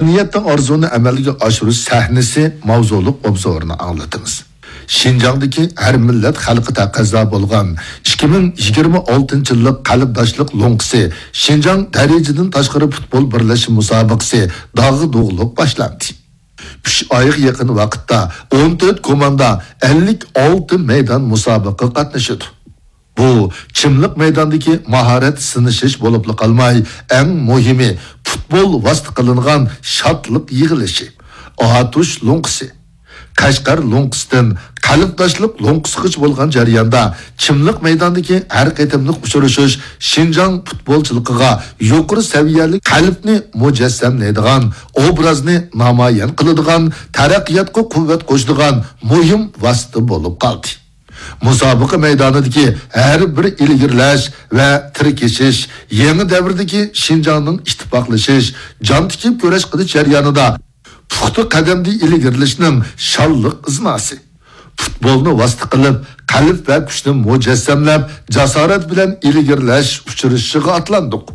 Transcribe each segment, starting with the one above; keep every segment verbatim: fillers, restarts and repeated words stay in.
نىيەتتە ئارزۇنى ئەمەلگە ئاشۇرۇش سەھنىسى ماۋزۇلۇق ئوبزورىنى ئاڭلىتىمىز. شىنجاڭدىكى ھەر مىللەت خەلقى تەقەززا بولغان ئىككى مىڭ يىگىرمە ئالتىنچى يىللىق قەلبداشلىق لوڭقىسى شىنجاڭ دەرىجىدىن تاشقىرى پۇتبول بىرلەشمە مۇسابىقىسى داغدۇغىلىق باشلاندى. ئۈچ ئايغا يېقىن ۋاقىتتا ئون تۆت كوماندا، ئەللىك ئالتە مەيدان مۇسابىقىگە قاتنىشىدۇ. بۇ چىملىق مەيداندىكى ماھارەت سىنىشىش بولۇپلا قالماي، ئەڭ مۇھىمى پۇتبول ۋاسىتە قىلىنغان شادلىق يىغىلىشى. ئاتۇش لوڭقىسى. قەشقەر لوڭقىسىدىن قەلبداشلىق لوڭقىسىغىچە بولغان جەرياندا چىملىق مەيداندىكى ھەر قېتىملىق ئۇچرىشىش شىنجاڭ پۇتبولچىلىقىغا يۇقىرى سەۋىيەلىك قەلبنى مۇجەسسەملەيدىغان، ئوبرازنى نامايان قىلىدىغان، تەرەققىياتقا قۇۋۋەت قوشىدىغان مۇھىم ۋاسىتە بولۇپ قالدى. مۇسابىقە مەيدانىدىكى ھەر بىر ئىلگىرىلەش ۋە تىركىشىش يېڭى دەۋردىكى شىنجاڭنىڭ ئىتتىپاقلىشىش، جان تىكىپ كۈرەش قىلىش جەريانىدا پۇختا قەدەمدە ئىلگىرىلىشنىڭ شانلىق ئىزناسى. پۇتبولنى ۋاسىتە قىلىپ، قەلب ۋە كۈچنى مۇجەسسەملەپ، جاسارەت بىلەن ئىلگىرىلەش ئۇچرىشىشىغا ئاتلاندۇق.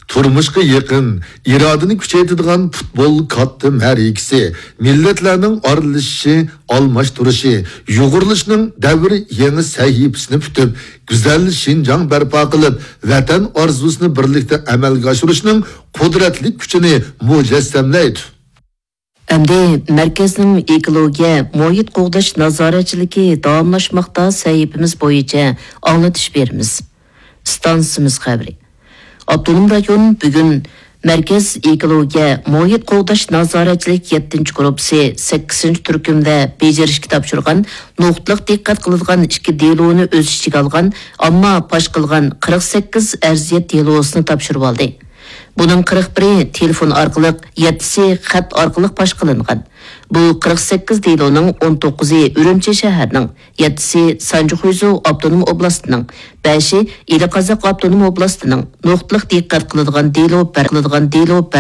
تۇرمۇشقا يېقىن، ئىرادىنى كۈچەيتىدىغان پۇتبول كاتتا مەرىكىسى، مىللەتلەرنىڭ ئارىلىشىشى، ئالماشتۇرۇشى، يۇغۇرۇلۇشىنىڭ دەۋر يېڭى سەھىپىسىنى پۈتۈپ، گۈزەل شىنجاڭ بەرپا قىلىپ، ۋەتەن ئارزۇسىنى بىرلىكتە ئەمەلگە ئاشۇرۇشنىڭ قۇدرەتلىك كۈچىنى مۇجەسسەملەيدۇ. ئەمدى مەركەزنىڭ ئېكولوگىيە، مۇھىت قوغداش نازارەتچىلىكى داۋاملاشماقتا سەھىپىمىز بويىچە ئاڭلىتىش بېرىمىز. ئىستانسىمىز خەۋىرى. ئاپتونوم رايون بۈگۈن مەركەز ئېكولوگىيە، مۇھىت قوغداش نازارەتچىلىك يەتتىنچى گۇرۇپپىسى سەككىزىنچى تۈركۈمدە بېجىرىشكە تاپشۇرغان نۇقتىلىق دىققەت قىلىدىغان ئىككى دېلونى ئۆز ئىچىگە ئالغان، ئامما پاش قىلغان قىرىق سەككىز ئەرزىيەت دېلوسىنى تاپشۇرۇۋالدى. بۇنىڭ قىرىق بىرى تېلېفون ئارقىلىق، يەتتىسى خەت ئارقىلىق پاش قىلىنغان. بۇ قىرىق سەككىز دېلونىڭ ئون توققۇزى ئۈرۈمچى شەھەرنىڭ، يەتتىسى سانجى خۇيزۇ ئاپتونوم ئوبلاستىنىڭ، بەشى ئىلى قازاق ئاپتونوم ئوبلاستىنىڭ نۇقتىلىق دىققەت قىلىدىغان دېلو بەر-، قىلىدىغان دېلو